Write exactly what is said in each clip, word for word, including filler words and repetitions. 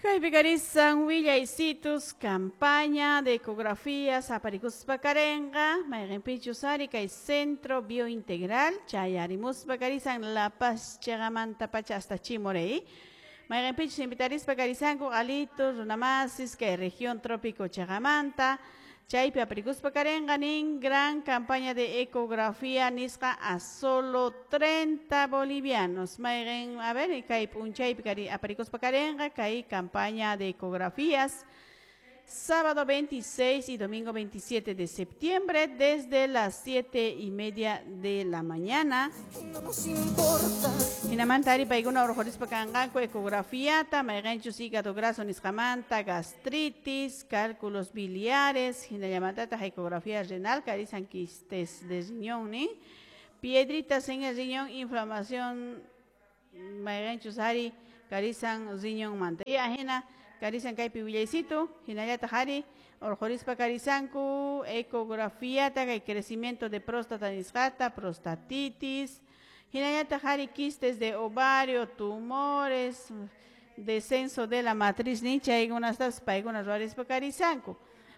Kaypi karisan willaysitus campaña de ecografías aparikuspa karenqa mayqinpichus ari kay Centro Biointegral chayarimuspa karisan La Paz chiqamanta pacha hasta Chimoré. Mayqinpichus invitarispa karisanku qalitus runamasis kay región trópico chiqamanta chaypi aparikuspa karenqa nin gran campaña de ecografía nisqa a solo treinta bolivianos. Mayqin, a ver, kay p'unchaypi kari aparikuspa karenqa kay campaña de ecografías sábado veintiséis y domingo veintisiete de septiembre desde las siete y media de la mañana. No nos importa. Hinamanta ari paykuna urqurispa kanqanku ecografiata, mayqinchus hígado graso nisqamanta, gastritis, cálculos biliares, hinallamantataq ecografía renal, karisan quistes de riñón, nin, piedritas en el riñón, inflamación, mayqinchus ari karisan riñonmanta. Y ajina karisan kaypi willaysitu, hinallataq ari urqurispa karisanku ecografiata, kay crecimiento de próstata nisqata, prostatitis, hinallataq ari quistes de ovario, tumores, descenso de la matriz nin chaykunastapas paykuna ruwarispa karisanku.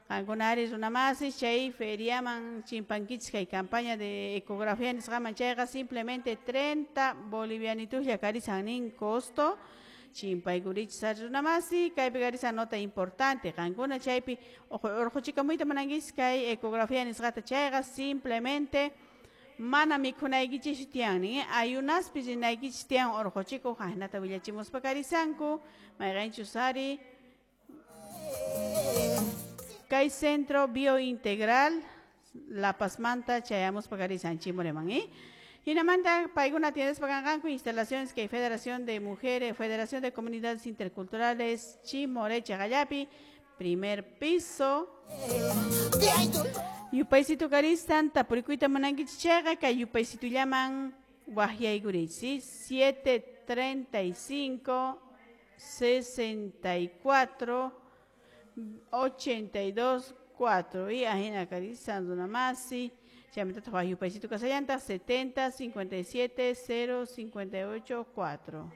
Qankuna ari runamasis chay feriaman chimpankichis kay campaña de ecografía nisqaman chayqa simplemente treinta bolivianitujlla karisan nin costo. Chimpaykurichis ari runamasi, kaypi karisan nota importante, qankuna chaypi urquchikamuyta munankichis kay ecografía nisqata chayqa simplemente mana mikhunaykichis tiyan nin, ayunaspi rinaykichis tiyan urquchikuq ajnata willachimuspa karisanku, mayqinchus ari kay Centro Biointegral La Pazmanta chayamuspa karisan Chimoreman, eh? Hinamanta paykuna atiendespa kanqanku instalaciones que Federación de Mujeres, Federación de Comunidades Interculturales Chimoré Chagallapi, primer piso. Yupaysito karisan tapurikuyta munankichis chayqa kay yupaysitullaman waqyaykurichis, siete treinta y cinco sesenta y cuatro ochenta y dos cuatro y ajina karisan runamasi. Chaymantata yupaysito kasallanta setenta cincuenta y siete cero cincuenta y ocho cuatro.